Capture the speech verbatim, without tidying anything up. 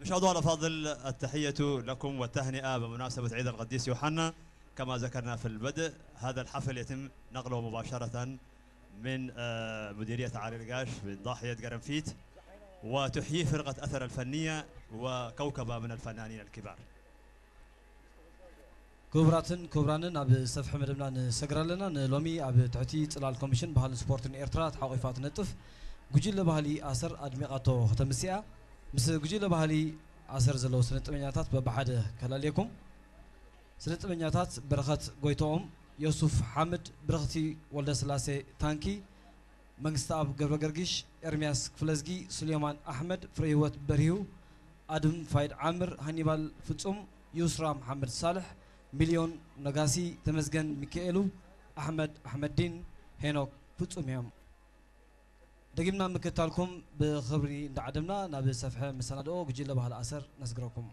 مشاهدونا الأفاضل، التحية لكم والتهنئة بمناسبة عيد القديس يوحنا. كما ذكرنا في البدء، هذا الحفل يتم نقله مباشرة من، آه، مديرية علي القاش من ضاحية قرنفيت، وتحييه فرقة أثر الفنية وكوكبة من الفنانين الكبار. ክቡራትን ክቡራንን፣ ኣብ ሰፍሐ መደብና ንሰግር ኣለና። ንሎሚ ኣብ ትሕቲ ጽላል ኮሚሽን ባህልን ስፖርትን ኤርትራ ተሓቂፋ ትነጥፍ ጉጅለ ባህሊ ኣሰር ኣድሚቓቶ ከተምስያ። ምስ ጉጅለ ባህሊ ኣሰር ዘለዉ ስነ ጥበኛታት በብሓደ ከላልየኩም። ስነ ጥበኛታት በረኸት ጎይትኦም፣ ዮሱፍ ሓምድ፣ ብርኽቲ ወልደስላሴ ታንኪ፣ መንግስተኣብ ገብረገርጊሽ፣ ኤርምያስ ክፍለዝጊ፣ ሱሌማን ኣሕመድ፣ ፍሬህይወት በርሂው፣ ኣድም ፋይድ ዓምር፣ ሃኒባል ፍጹም፣ ዩስራ መሓመድ ሳልሕ፣ ሚልዮን ነጋሲ፣ ተመስገን ሚካኤሉ፣ ኣሕመድ ኣሕመድዲን፣ ሄኖክ ፍጹም እዮም። ደጊምና ምክትታልኩም ብኽብሪ እንዳዓደምና፣ ናብ ሰፍሐ መሰናድኦ ጉጅለ ባህሊ ኣሰር ነስግረኩም።